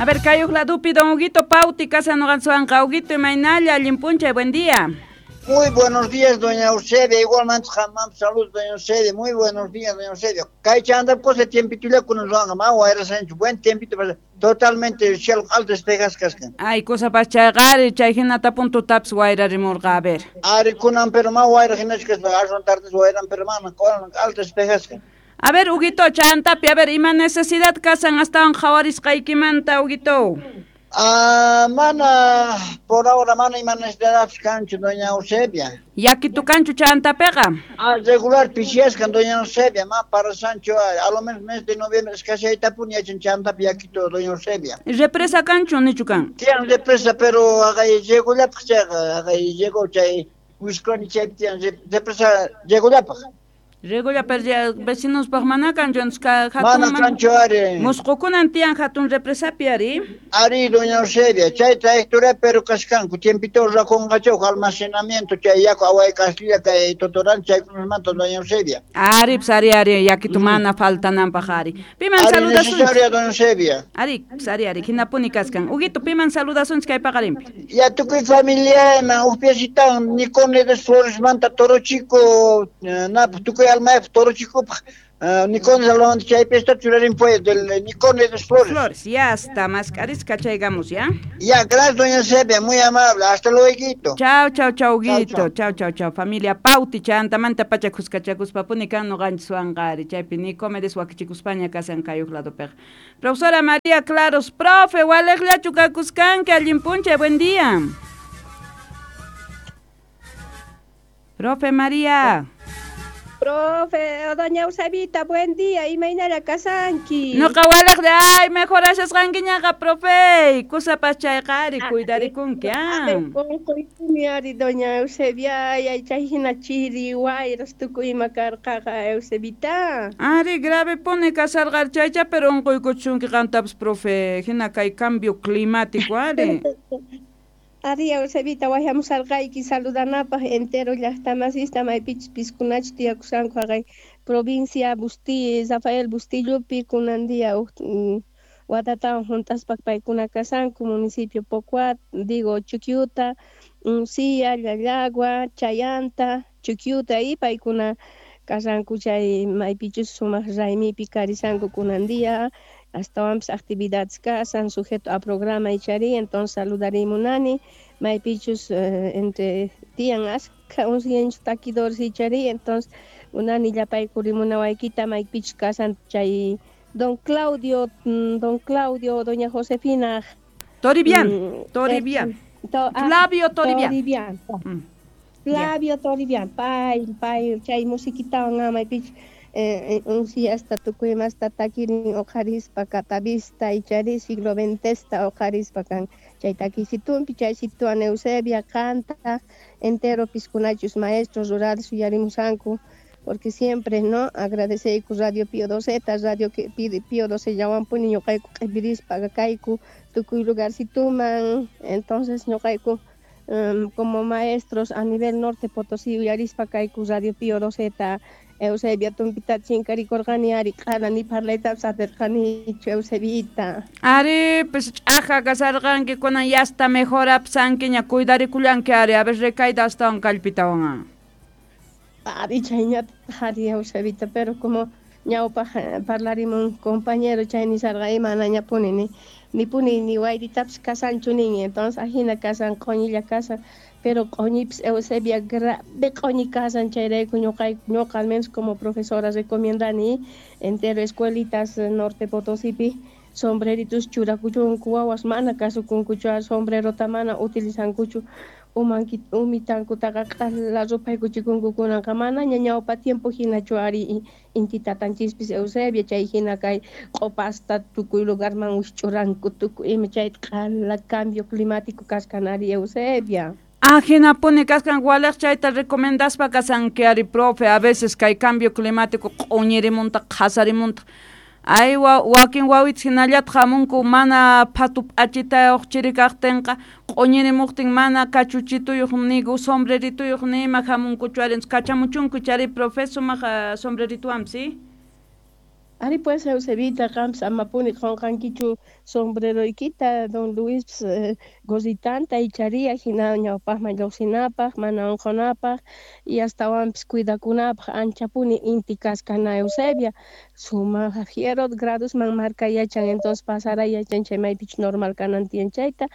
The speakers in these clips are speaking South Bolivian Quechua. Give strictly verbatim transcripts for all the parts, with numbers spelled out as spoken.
A ver, kayuq ladupi don Huguito Pauti, casa noqansuanqa. Huguito, imaynalla, allin p'unchay, buen día. Muy buenos días, doña Eusebia. Igualmente, jamás salud, doña Eusebia. Muy buenos días, doña Eusebia. Kay chayanta cosa tiempito con nos buen tiempito, totalmente cielo alto despejas kaskan. Ay, cosa pas chayqari, chay hinata punto taps wayra rimurqa, a ver. Ari kunan pero ma wayra hinachkas ashwan tardes wayran pero mana alto despejaskan. A ver, Huguito, chantapi, a ver, ima necesidad kasan astawan qhawarisqaykimanta, Huguito. Ah, mana, por ahora mana ima necesidad kanchu, doña Eusebia. Yakitu kanchu chantapeqa. Ah, regular pishiaskan, doña Eusebia, ma para Sancho, a lo menos mes de noviembre escaseitapuni yachan chantapi yakito, doña Eusebia. Represa kanchu nichu kan? Tiyan represa, pero agay llego llapaq chayqa, agay llegó chay wisconi chaypi tiyan represa llego llapaq. Regular pero vecinos paq mana kanchu hatun mana kanchu ari. Musqukunan tiyan hatun represapi ari. Ari doña Eusebia, chay trayectoria pero kaskanku tiempito rakunqachaw almacenamiento chay yaku away Castilla kay Totorán chaykunamanta doña Eusebia. Ari pues ari ari yakitu mana faltananpaq ari. Piman saludasunchik. Necesaria doña Eusebia. Ari pues ari ari hinapuni kaskan. Huguito piman saludasunchik kay paqarinpi. Ya tukuy familia man uqpiasitan Nicomedes Flores manta Toro Chico na tukuy alma Toro Chico Nicomedes hablando chaypi está churarin pues del Nicomedes Flores. Flores, ya está, más carisca chaygamos, ¿ya? Ya, gracias doña Eusebia, muy amable, hasta luego. Chao, chao, chao, Huguito, chao, chao, chao, familia Pauti, chantamanta pacha kuskachakuspapuni kan noqanchis chaypi Nicomedes wakichikuspaña kasan kayuq ladopiqa. Profesora María Claros, profe, waliqllachu kakuskanki, allin p'unchay, buen día. Profe María. Profe, doña Eusebita, buen día. Imaynalla kasanki. Noqa waliq de ay, mejorashasqankiñaqa, profe. Kusapas chayqa ari, cuidarikunki, ah. Unquykuni ari, doña Eusebia, ay, chay hina chiri, wayras tukuy ima karqaqa, Eusebita. Ari, grave pone kasarqa chaycha, pero unquykuchunki qantapas, profe. Hina kay cambio climático, ari. Ari Eusebita, wayhamusarqayki saludanapaq entero llaqtamasista maypichus piskunachu tiyakushanku haqay provincia Busti, Rafael Bustillopi kunan día watatawan juntaspa paykuna kasanku municipio Pocuat, digo Chuquiuta, Uncia, Llallagua, Chayanta, Chuquiuta y paykuna kasanku chay maypichus sumaq raymipi karisanku kunan día. Astawanpis actividades kasan sujeto a programa ichari, entonces saludarimunani maypichus eh, entre tiyan askha unsiyanchu takidores ichari, entonces munani llapaykurimuna maypichus kasan chay don Claudio, don Claudio, doña Josefina Toribian, mm, Toribian, eh, to, ah, Flavio Toribian, Toribian. Mm. Flavio Toribian, pay, pay, chay musiquitawan maypichus Eh, unsiyasta tukuy imasta takirin uqharispa catavista ichari siglo veintesta uqharispa kan chay takisitunpi chay situan Eusebia canta entero piskunachus maestros rurales uyarimusanku porque siempre no agradeceyku Radio Pío doce Radio Pío doce llawanpuni ñuqayku q'ipirispa kayku tukuy lugarsituman entonces ñuqayku um, como maestros a nivel norte Potosí uyarispa kayku Radio Pío doce Eusebia tumpita chinkarikurqani ari q'arani parlaytapas atirqanichu Eusebita. Ari pues ch'aja kasarqanki kunan yasta mejorapsankiña cuidarikullanki ari a ver recaída astawan kallpitawan. Ari chayñataq ari Eusebita pero como ñawpaq parlarimun compañero chay nisarqa imanañapuni ni nipuni ni wayritapas kasanchu nin entonces ajina kasan q'uñilla kasan pero q'uñipis Eusebia grave q'uñi kasan chayrayku ñuqayku ñuqa al menos como profesora recomiendani entero escuelitas norte Potosipi sombreritos churakuchunku wawas mana kasukunkuchu sombrerota mana utilizankuchu umanki umitankutaqa q'ala rupaykuchikunku kunanqa manaña ñawpa tiempo hinachu ari inti tatanchispis Eusebia chay hina kay q'upasta tukuy lugarman wikch'uranku tukuy ima chayta q'ala cambio climático kaskan ari Eusebia. Ah, hinapuni kaskan waliq chayta recomendaspa kasanki ari profe a veces kay cambio climático q'uñirimunta qhasarimunta ay wa, wakin wawitas hinallataq hamunku mana phatu p'achitayuq chiri kaqtinqa q'uñirimuqtin mana kachuchituyuq nigu sombrerituyuq nima hamunkuchu ari kachamuchunku chari profe sumaq sombreritwanpis. Ari pues Eusebita qampis amapuni qunqankichu sombreroykita don Luis eh, gorritanta icharia hina ñawpaqman lluqsinapaq mana unqunapaq y astawanpis cuidakunapaq anchapuni inti kaskana Eusebia sumaq fiero gradosman marka yachan entonces pasara yachan chay maypichus normal kanan tiyan chayta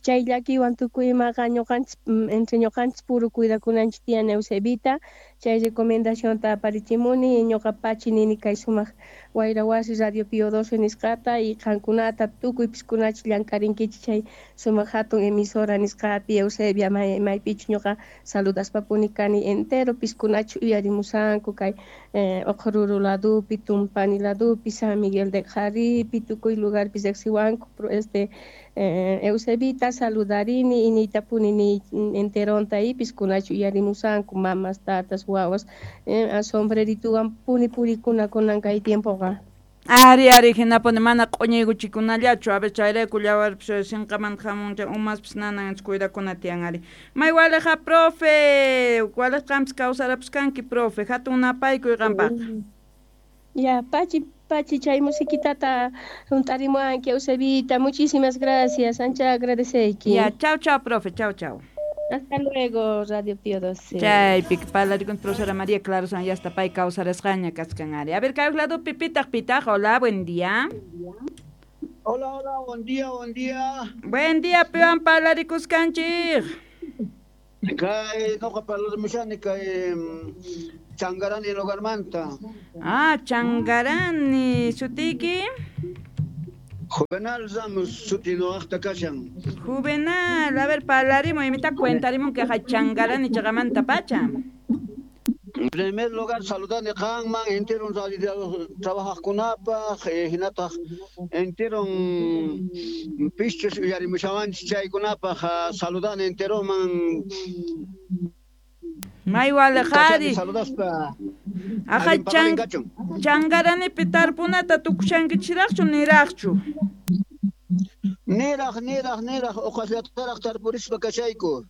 chay llakiwan tukuy imaqa ñuqanchis entre ñuqanchis puro cuidakunanchis tiyan Eusebita chay recomendacionta aparichimuni ñuqa pachi nini kay sumaq Wayra Wasi Radio Pío doce nisqata y qankunata tukuy piskunachi llank'arinkichik chay sumaq hatun emisora nisqapi Eusebia may maypichu ñuqa saludaspapuni kani entero piskunachi uyarimusanku kay eh, Oqoruru ladupi Tumpani ladupi San Miguel de Qharipi tukuy lugarpi riqsiwanku este eh, Eusebita saludarini y niytapuni niy enteronta y piskunachi uyarimusanku mamas tatas wawas eh, sombrerituwan puni purikuna kunan kay tiempoqa. Ari ari hinapuni mana q'uñiykuchikunallachu a ver chayrayku llawarpis sinqamanta hamuncha umaspis nanan cuidakuna tiyan ari. May waliqa profe, waliq qampis kawsarapis kanki profe, hatun napaykuy qampaq. Ya, pachi pachi chay musiquitata juntarimuanki Eusebita, muchísimas gracias, ancha agradeceyki. Ya, chau chau profe, chau chau. Hasta luego, Radio Pío doce. Chaypi parlarikun profesora María Clara San ya está pay kawsarasqaña kaskan ari. A ver, kay lado pitaq pitaq, hola, buen día. Hola, hola, buen día, buen día. Buen día, piwan parlarikuskanchik. Kay noqa parlarimushani kay Changarani lugarmanta. Ah, Changarani, sutiki. Juvenal Ramos suti noqaqta kashan. Juvenal, a ver, parlarimo, imita cuentarimo que Changarani chagamanta pacha. En primer lugar, saludani qanman, entero trabajaqkunapaq, hinataq entero pischus uyarimushawanchis chaykunapaq, saludani enteroman. May walejari. Saludaspa. Aja chan Changaranipi tarpunata tukushankichiraqchu niraqchu. Niraq niraq niraq uqasllataraq tarpurispa kashayku.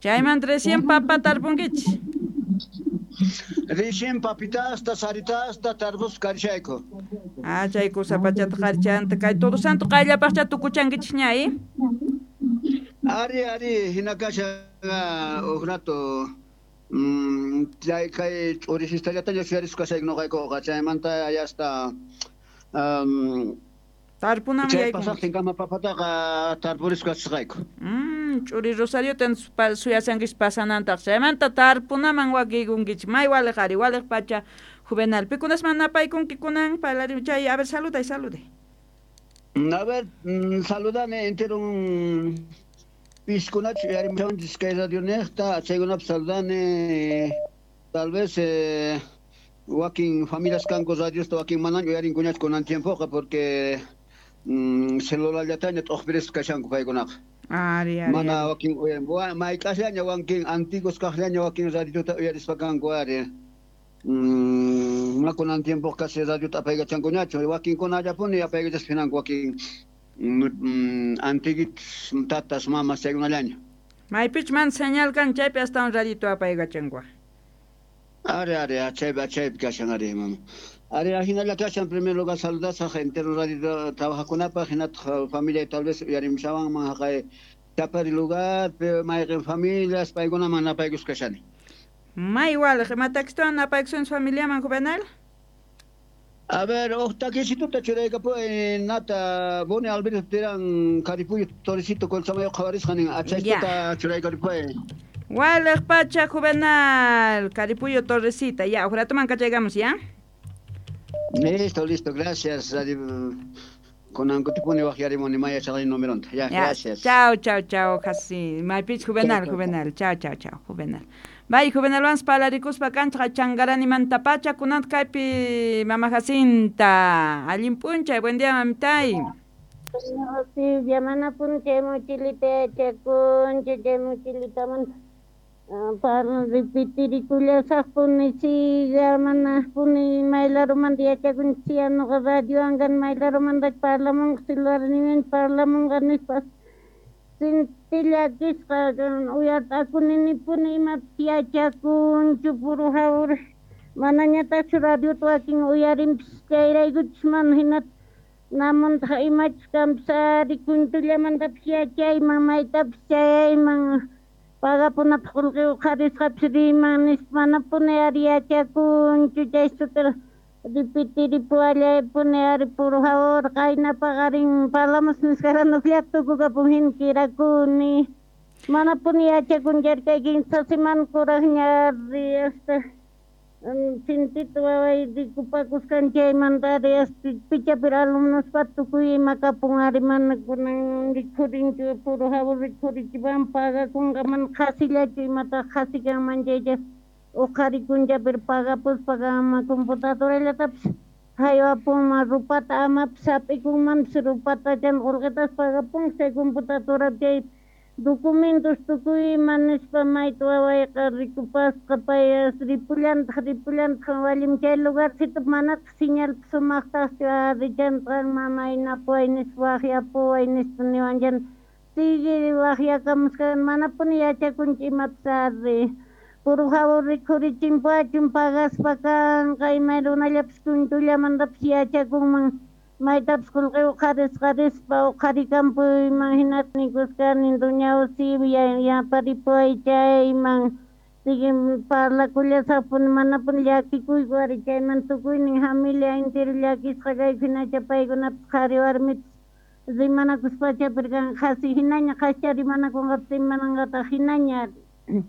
Chaymanta recién papa tarpunkichis. Recién papitasta, saritasta tarpus karishayku. Ah, chay kusa pachata qarichanta kay todo santo qayllapaqcha tukuchankichis ña, ¿eh? Ari ari hinakasha uj rato chay kay ch'urisistallataña suyarisqa kashayku noqaykuqa chaymanta yasta tarpunaman chay pasaqtinkama papataqa tarpurisqa kasqayku. Mm, ch'uri Rosariota suyasankichis pasanantaq chaymanta tarpunaman wakiykunkichis may waliq ari waliq pacha Juvenal pikunasman napaykunki kunan parlarim chay a ver saluday saluday. A ver, saludane entero piskunachu uyarimushanchis kay radio niqta chaykunapi saludane tal vez eh, wakin familias kanku radiosta wakin manaña uyarinkuñachu kunan tiempoqa porque mm, celularllataña t'uqpirisqa kashanku paykunaqa. Ari ari. Mana wakin uyarin mayk'asllaña wakin antiguos kaqllaña wakin radiota uyarispa kanku ari. Mm, mana kunan tiempo casi radiota apaykachankuñachu wakinkunallapuni apaykachaspa hinanku wakin Mm, antiguitos tatas mamas chaykunallaña. Maypich man señal kan chaypi hasta un radito apaykachanku. Ari ari achaypi achaypi kashan ari mama. Ari ahinalla kashan primer lugar saludasaq entero radio trabajakunapaq hinataq familia tal vez uyarimushawanman haqay Chapari lugar mayqin familias paykunaman napaykus kashani. May waliq imatakistawan napaykusun familiaman Juvenal? A ver, uj takisituta churaykapuy nata Boni Alberto Terán Caripuyo Torrecito Colchamayo qhawarisqa nin achaytuta churaykaripuy. Waliq pacha Juvenal Caripuyo Torrecita ya, uj ratoman kachaykamos ya. Listo, listo, gracias. Kunan kutipuni waqyarimuni maya chaqay numeronta. Ya, gracias. Chao, chao, chao, Jasi. Maypich Juvenal, Juvenal. Chao, chao, chao, Juvenal. Bay Juvenal wans parlarikuspa kanchqa Changaranimanta pacha kunanta kaypi mama Jacinta. Allin p'unchay, buen día mamitay. Silvia, mana p'unchay mochilita yachakunchik chay mochilitamanta parla repitirikullashaqpuni siga mana puni maylarumanta yachakunchik nuqa radiowankan maylarumanta parlamunqa celularninwan parlamunqa nispa sintillakisqa uyart'akuninipuni imapis yachakunchu puro jawar Manañataqchu radiota wakin uyarinpis chayraykuchis mana hinata namuntaq imachus kanpis ari kuntullamantapas yachayman maytapis chayayman pagapunapaq qullqi uqharisqapis riman nispa manapuni ari yachakunchu chaysutara ripitiripuwallaypuni ari por favor qayna paqarin parlamus nisqaranukllata tukukapun hina kirakuni manapuni yachakunchu ari kay kinsa semana kuraqña ari hasta sintito waway rikupakusqan chaymanta ari hasta pichapir alumnospa tukuy ima kapun ari mana kunan rikhurinchu puro favor rikhurichipan pagakunqa mana qhasillachu imataq qhasi kanman chaycha uqharikuncha pero pagapuspa kanman computadorallatapis haywapunman rupata amapis hap'ikunmanpis rupata chan qullqitas pagapunqa chay computadora chay documentos tukuy ima nispa mayta wawayqa rikupasqa pay ripullantaq ripullantaq wallim chay lugarcito manataq señalpis sumaqtaqchu ari chantaq mamay napuway nispa waqyapuway nispa niwan chan sigue waqyakamusqan manapuni yachakunchu imapis ari por favor rikhurichimpuwachun pagaspa kanqa imay runallapis kuntullamantapas yachakunman maytapis qullqi uqharisqa rispa uqharikampuyman hinata nikusqani doña Eusebia yaparipuway chayman sigue parlakullasaqpuni manapuni llakikuyku ari chayman tukuynin familia entero llakisqa kayku hinacha paykunapis qhari warmipis rimanakuspacha pero kan qhasi hinaña qhascha rimanakunqapis rimananqataq hinaña ari.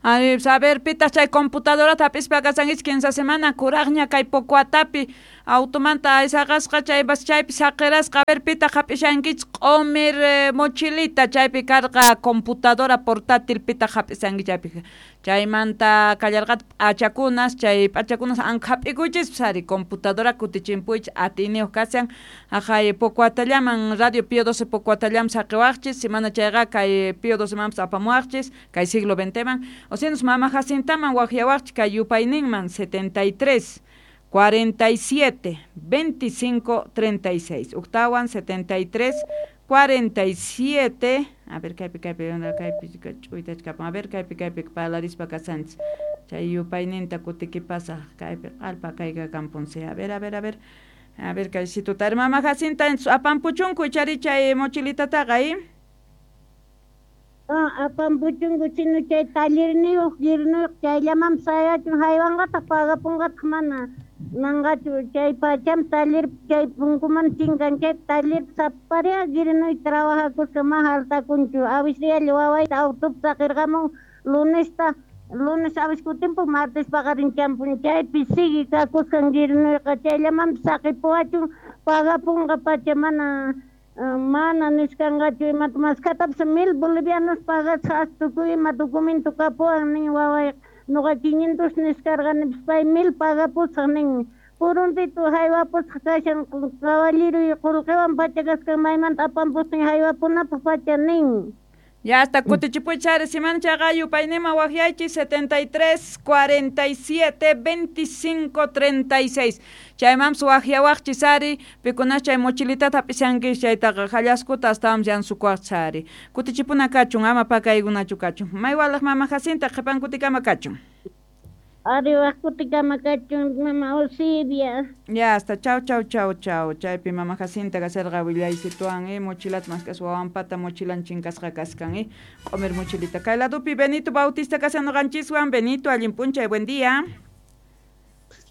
Ay, a ver, pitaq chay computadorata hap'ispa kasankichik kinsa semana kuraqña kay Pocoatapi automanta aysaqasqa chaypas chaypi saqirasqa. A ver, pitaq hap'ishankichik q'umir eh, mochilita chaypi karqa computadora portátil pitaq hap'isanki chaypi chaymanta kallarqata p'achakunas chay p'achakunas anka hap'ikuychispas ari computadora kutichimpuychis atiyniyuq kashan haqay Pocoatallaman Radio Pío doce Pocoatallam saqiwaqchis semana chayqa kay Pío doce manpas apamuwaqchis kay siglo veinteman o sea, mama Jacintaman waqyawaqchis kay yupayninman setenta y tres cuarenta y siete veinticinco treinta y seis octawan setenta y tres cuarenta y siete a ver kaypi kaypi kaypi ch'uytachkapan a ver kaypi kaypi parlarispa kasanchis chay yupayninta kutikipasaq kaypi q'allpa kayqa kampunsi a ver a ver a ver a ver kaysituta mama Jacinta apampuchunku ichari chay mochilitataqa eh Ah, apampuchunku chino chay tallerniyuq girniyuq chayllamanpas sayachun haywanqataq pagapunqataq mana nanqachu chay pacham taller chay punkuman chinkan chay taller saparia girnuy trabajakusqa ma hartakunchu awisrialla wawayta autopi saqirqamun lunesta lunes awis kutinpun martes paqarin champun chaypi sigue kakusqan girnuyqa chayllamanpas saqipuwachun pagapunqa pacha mana mana nisqanqachu imata maskhatapis mil bolivianos pagasqa as tukuy ima documento kapuwan nin wawayqa nuqa quinientos nisqarqanipis pay mil pagapusaq nin puruntito haywapusqa kashan caballeroy qullqiwan pacha kasqan maymanta apampustin haywapunapaq pacha nin. Ya hasta kutichipuychis ari semana chayqa yupaynima waqyaychis setenta y tres cuarenta y siete veinticinco treinta y seis chaymanpas waqyawaqchis ari pikunas chay mochilitata hap'ishankichis chaytaqa hallaskuta astawanpas yansukuwaqchis ari kutichipuna kachun ama pakaykunachu kachun maywalaq mama Jacinta qhipan kutikama kachun. Ari waq kutikama kachun mama Eusebia. Ya hasta chau chau chau chau chaypi mama Jacinta kasarqa willaysituwan eh mochilata mask'aspa wawanpata mochilan chinkasqa kaskan eh q'umir mochilita kay ladupi Benito Bautista kashan nuqanchiswan. Benito, allin p'unchay, buen día.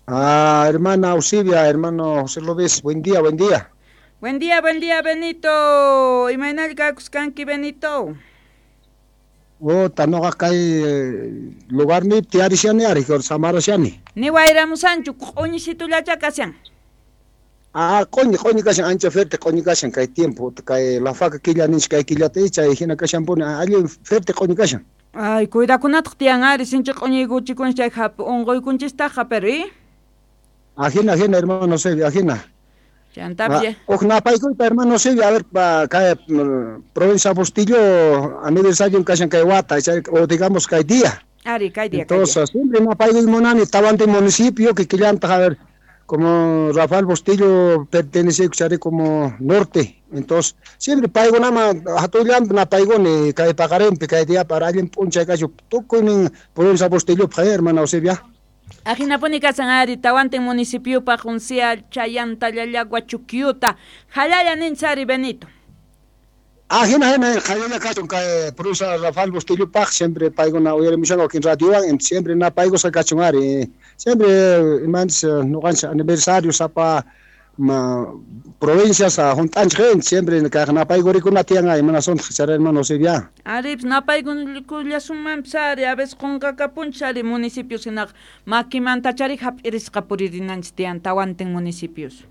Ah, hermana Eusebia, hermano José López, buen día, buen día. Buen día, buen día, Benito. Imaynalla kakusqanki, Benito? Oh, tanoqa kay lugarni tiyarishani ari, samarashani. Ni wayramusanchu, q'uñisitullacha kashan. Ah, q'uñi, q'uñi kashan, ancha fuerte q'uñi kashan kay tiempo, kay la faca killa ninchik kay killata chay hina kashanpuni, allin fuerte q'uñi kashan. Ay, cuidakunataq tiyan ari, sinchi q'uñiykuchikunchik chay unquykunchistaqqa, pero eh? Ajina, ajina, hermano Eusebio, ajina. Chantapia. Ah, Uqnapaykuyta, hermano Eusebio, a ver, pa, kay provincia Bustillo, aniversario kashan kay wata, o digamos kay día. Ari, kay día, Entonces, siempre napaykuy munani, Tahuantin municipio, que killantaq, a ver, como Rafael Bustillo pertenece como norte, entonces siempre paykunama hatullanpi napaykuni kay paqarinpi kay día para allin p'unchay kachu tukuynin provincia Bustillo, hermano Eusebio. Ajinapuni kasan ari tawantin municipiopaq unsia chayanta llallagua chukyuta jalalla ninchari Benito. Ajina jina jalalla kachun kay provincia Rafael Bustillo paq siempre paykuna uyarimushanku wakin radiowan siempre na paykusqa kachun ari siempre imanchis ñuqanchis aniversario sapa ma provincias junt'anchik siempre kaq napaykurikuna tiyan ay mana suntaq chara hermano Eusebia. Ari napaykullasunmanpis ari a veces qunqakapunchis ari municipios hinaqa makimantachari hap'irisqa puririnanchis tiyan tawantin municipios.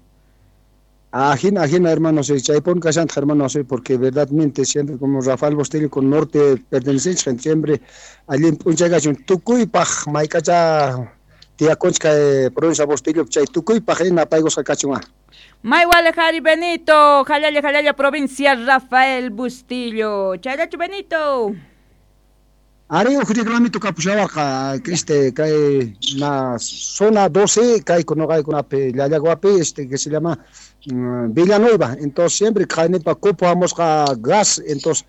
Ajina, ajina, hermano, sí, chaypun kashantaq, hermano, sí, porque verdaderamente siempre como Rafael Bustillo con norte pertenecen siempre allí p'unchay kachun tukuypaq maykacha tiyakunchik kay provincia Bustillo chay tukuypaq napaykusqa kachun. May walejari Benito, jalalla jalalla provincia Rafael Bustillo. Chayllachu Benito. Ari uj reglamento kapushawarqa este kay na zona doce kay kunuqaykunapi llallaguapi este que se llama Villanueva, entonces siempre kaynipa cupo hamusqa gas, entonces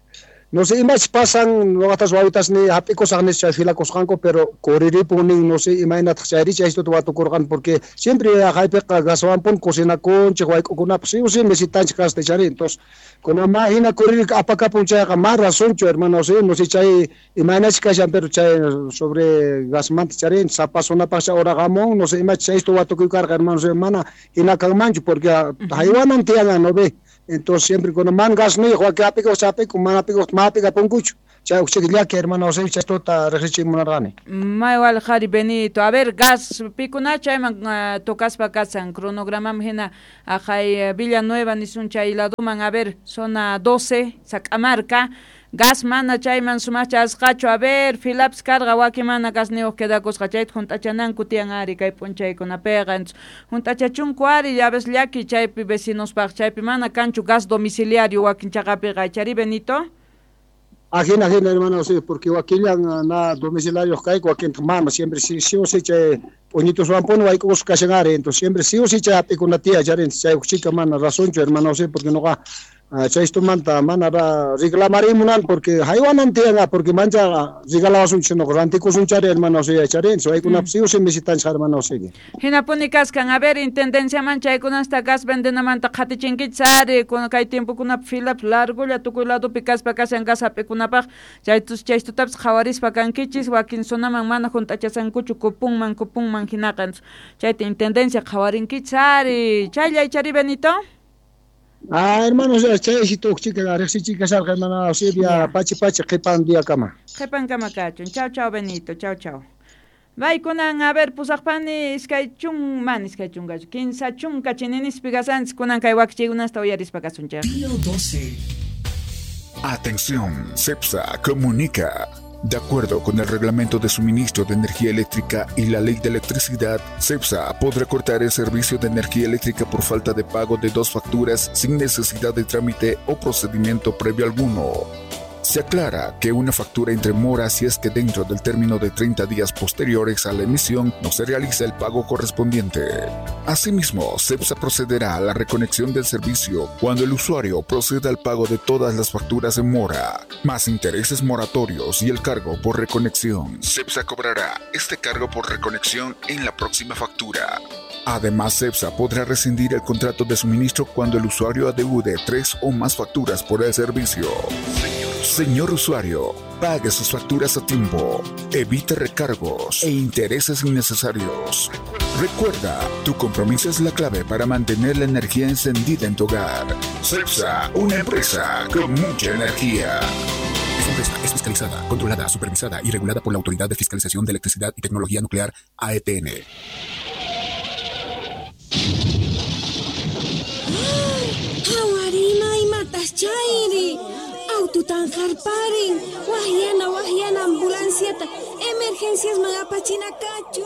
no sé imach pasan noqatas wawitas ni hap'ikusaq nispa filakusqanku pero kuriripun nin no sé imaynataq chayri chaystuta watukurqan porque siempre haypiqa gaswanpun cocinakunchik wayk'ukunapas sí o sí necesitanchik gasta chari entonces kuna ma hina kuririk apakapun chayqa ma razonchu hermano sí no sé chay imaynachik kashan pero chay sobre gasmanta chari sapa zonapaq uraqamun no sé imach chaystu watukuykarqa hermano sí mana hina kanmanchu porque haywanan tiyan no ve. Entonces siempre cuando man gas no hijo que apico chapico man apico mapica poncucho chay uxillaki hermano se chastota rejichimunarqani. Maywal jari Benito, a ver gas pikuna chayman uh, tocaspa kasan cronogramam hina ajay Villanueva nisun chay laduman a ver zona doce Sacamarca gas mana chayman sumacha asqachu a ver filaps carga wakimana gasniyuq quedakusqa chayta junt'achananku tiyan ari kay p'unchaykunapiqa junt'achachunku ari ya ves llaki chaypi vecinospaq chaypi mana kanchu gas domiciliario wakin chaqapiqa chari Benito. Ajina ajina hermano sí porque wakillan na domiciliario kayku wakin mana siempre sí sí o sí chay p'uñituswanpuni wayk'ukusqa kashan ari entonces siempre sí o sí chay hap'ikuna tiyan chari chay uqchika mana razonchu hermano sí porque nuqa chaystumanta mana reclamarimunan porque haywanan tiyan porque mancha regalawasunchik nuqa rantikusunchari hermano sí chari waykunapas sí o sí necesitanchik hermano sí. Hinapuni kaskan a ver intendenciaman chaykunasta gas vendenamanta qhatichinkichis ari kay tiempokunapi filap largolla tukuy ladopi kaspa kashan gas hap'ikunapaq chaytus chaystutapas qhawarispa kankichis wakin zonaman mana junt'achasankuchu kupunman kupunman hinaqa chayta intendencia qhawarinkichis ari chayllay chari Benito. Ah, hermano, chay si tuqchika riqsichika sarqa hermano Eusebia pachi pachi qhipan diakama. Qhipan kama kachun. Chao chao Benito, chao chao. Baykunan a ver pusaqpani iskay chun man iskay chunkachu kinsa chunka chininispi kasanchis kunan kay wakichiykunasta uyarispa kasunchik. Atención, CEPSA comunica. De acuerdo con el Reglamento de Suministro de Energía Eléctrica y la Ley de Electricidad, CEPSA podrá cortar el servicio de energía eléctrica por falta de pago de dos facturas sin necesidad de trámite o procedimiento previo alguno. Se aclara que una factura entre mora si es que dentro del término de treinta días posteriores a la emisión no se realiza el pago correspondiente. Asimismo, CEPSA procederá a la reconexión del servicio cuando el usuario proceda al pago de todas las facturas en mora, más intereses moratorios y el cargo por reconexión. CEPSA cobrará este cargo por reconexión en la próxima factura. Además, CEPSA podrá rescindir el contrato de suministro cuando el usuario adeude tres o más facturas por el servicio. Señor usuario, pague sus facturas a tiempo, evite recargos e intereses innecesarios. Recuerda, tu compromiso es la clave para mantener la energía encendida en tu hogar. CEPSA, una empresa con mucha energía. Esta empresa es fiscalizada, controlada, supervisada y regulada por la Autoridad de Fiscalización de Electricidad y Tecnología Nuclear, A E T N. Hawarina imatas chayri. Aututan jarparin, wahyana wahyana ambulanciata, emergencias magapachina kachu.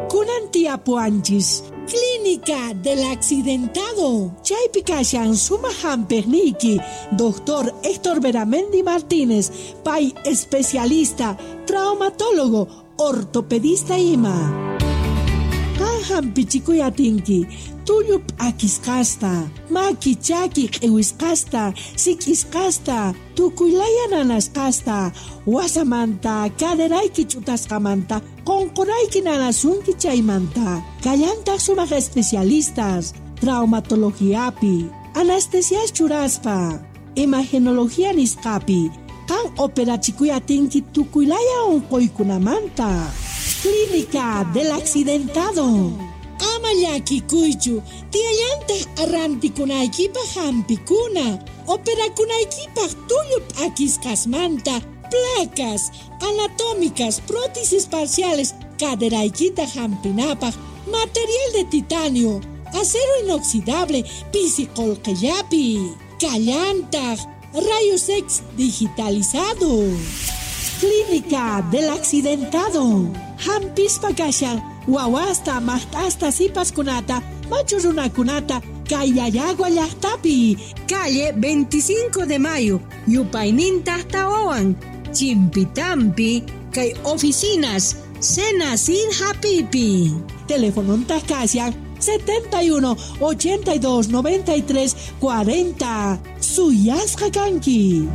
Kunan tiapuanchis, Clínica del Accidentado. Chaypi kashan suma hamperniki, doctor Héctor Beramendi Martínez, pay especialista, traumatólogo, ortopedista ima. Hampichikuy atinki, tullu p'akisqasta, maki chaki q'iwisqasta, sik'isqasta, tukuylaya nanasqasta, wasamanta, caderayki ch'utasqamanta, qonqorayki nanasunki chaymanta. Kallantaq sumaq especialistas, traumatologiapi, anestesias churaspa, imagenología nisqapi, qan operachikuy atinki tukuylaya unquykunamanta. Clínica del Accidentado. Ama llakikuychu, tiyallantaq arrantikunaykipaq hampikuna, operakunaykipaq tullu p'akisqasmanta, placas anatómicas, prótesis parciales, caderaykita hampinapaq, material de titanio, acero inoxidable, pisi qolqellapi, kallantaq, rayos X digitalizado. Clínica del Accidentado. Hampispa kashan, wawasta, maqt'asta, sipaskunata, machu runakunata, kay Llallagua llaqtapi. Calle veinticinco de Mayo, yupayninta tawawan, Chimpitampi, kay oficinas, Senacid Hapipi. Teléfono kashan setenta y uno, ochenta y dos, noventa y tres, cuarenta. Suyasqa kanki.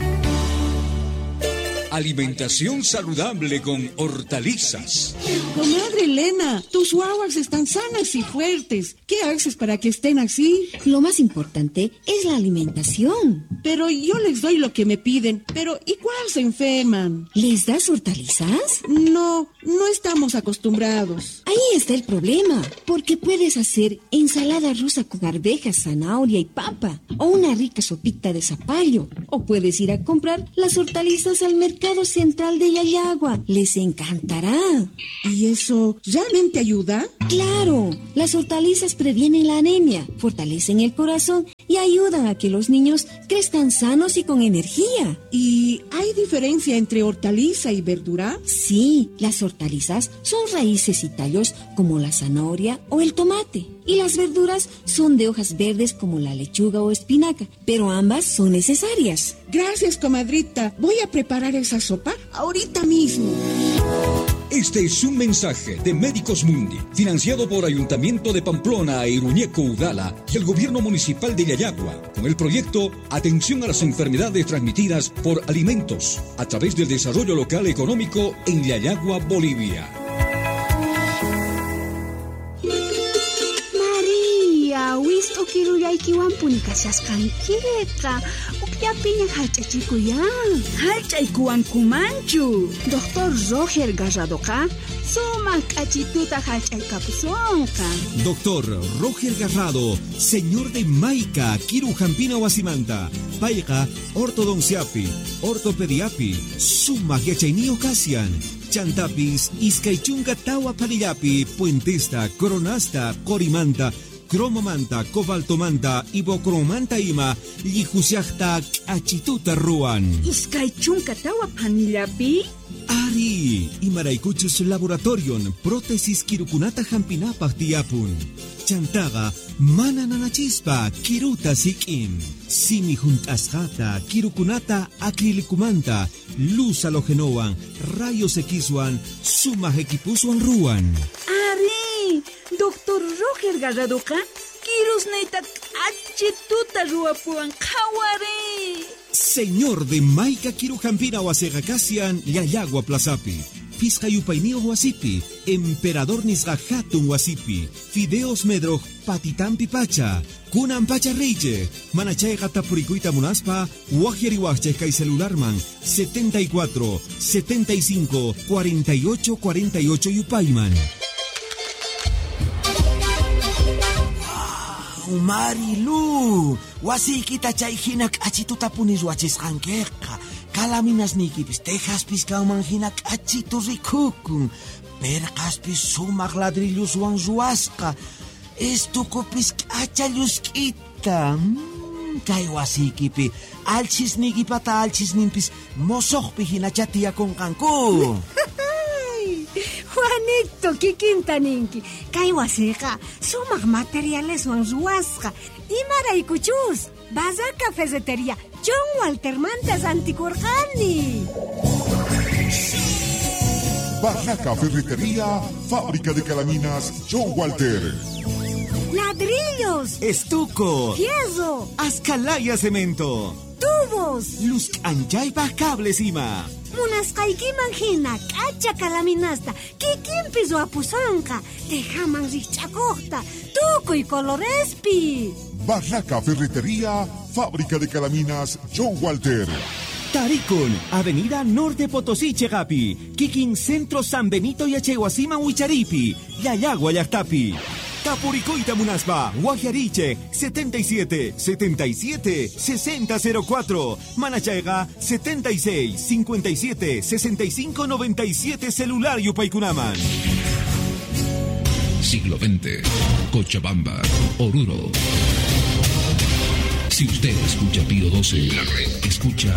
Alimentación saludable con hortalizas. Comadre Elena, tus guaguas están sanas y fuertes. ¿Qué haces para que estén así? Lo más importante es la alimentación. Pero yo les doy lo que me piden. Pero igual se enferman. ¿Les das hortalizas? No, no estamos acostumbrados. Ahí está el problema. Porque puedes hacer ensalada rusa con arvejas, zanahoria y papa. O una rica sopita de zapallo. O puedes ir a comprar las hortalizas al mercado Central de Llallagua. Les encantará. ¿Y eso realmente ayuda? ¡Claro! Las hortalizas previenen la anemia, fortalecen el corazón y ayudan a que los niños crezcan sanos y con energía. ¿Y hay diferencia entre hortaliza y verdura? Sí, las hortalizas son raíces y tallos como la zanahoria o el tomate. Y las verduras son de hojas verdes como la lechuga o espinaca, pero ambas son necesarias. Gracias, comadrita. Voy a preparar esa sopa ahorita mismo. Este es un mensaje de Médicos Mundi, financiado por Ayuntamiento de Pamplona e Iruñeco Udala y el Gobierno Municipal de Llallagua, con el proyecto Atención a las Enfermedades Transmitidas por Alimentos, a través del Desarrollo Local Económico en Llallagua, Bolivia. María, wist'ukirullaykiwanpuni kashasqankiqa, ukllapiña hallch'achikuyan. Hallch'aykuwankumanchu. Doctor Roger Garradoqa sumaq k'achituta hallch'aykapusonqa. Doctor Roger Garrado, señor de Maica, Kirujampina wasimanta, payqa ortodonciapi, ortopediapi, sumaq yachayniyuq kashan. Chantapis, iskay chunka tawa panillapi, puentesta, coronasta, corimanta, cromomanta, cobaltomanta, ibocromanta ima, llijusiajta, k'achituta ruwan. Iskay chunka tawa panillapi? Ari, imaraykuchus laboratorion, prótesis kirukunata hampinapaq tiyapun. Chantaqa, mana nanachispa, kiruta sik'in. Simi junt'asqata, kirukunata acrilicumanta, luz halogenowan, rayos Xwan, sumaq equipuswan ruwan. Ari, Doctor Roger Garradoqa, kirusniyta k'achituta ruwapuwan qhawari. Señor de Maica Kirujampina wasiqa kashan Llallagua Plazapi. Pisqa yupayniyuq wasipi, Emperador nisqa hatun wasipi, Fideos Medroj patitampi pacha, kunan pacha reyche, manachayqa tapurikuyta munaspa, waqyariwaqchej kay celularman setenta y cuatro, setenta y cinco, cuarenta y ocho, cuarenta y ocho yupayman. Wow, Marilu, wasiykita chay hina k'achituta puni ruwachisqankiqa. Kalaminasniykipis tejaspis kanman hina k'achitu rikukun. Perqaspis sumaq ladrilluswan ruwasqa. Estukupis k'acha llusk'ita. Mm, kay wasiykipi alchisniykipata alchisninpis mosoqpi hinacha tiyakunqanku. Juanito, kikinta ninki. Kay wasiqa sumaq materialeswan ruwasqa. Imaraykuchus Bazaca Ferretería John Walter manta rantikurqani. Barraca Ferretería, fábrica de calaminas John Walter. Ladrillos, estuco, fierro, ascalaya cemento, tubos, luz anchaypa cables ima. Munasqaykiman hina k'acha kalaminasta kikinpi ruwapusunqa, tejaman rikch'akuqta, tukuy colorespi. Barraca Ferretería, fábrica de calaminas John Walter. Tarikun, Avenida Norte Potosí, Chegapi, Kikin Centro San Benito Yachaywasiman Wicharipi, Llallagua llaqtapi. Tapuricoita Munaspa, Guajariche, setenta y siete, setenta y siete, sesenta cero cuatro, Manachaiga, setenta y seis, cincuenta y siete, sesenta y cinco, noventa y siete, celular Yupaykunaman. Siglo veinte, Cochabamba, Oruro. Si usted escucha Pío doce, la red escucha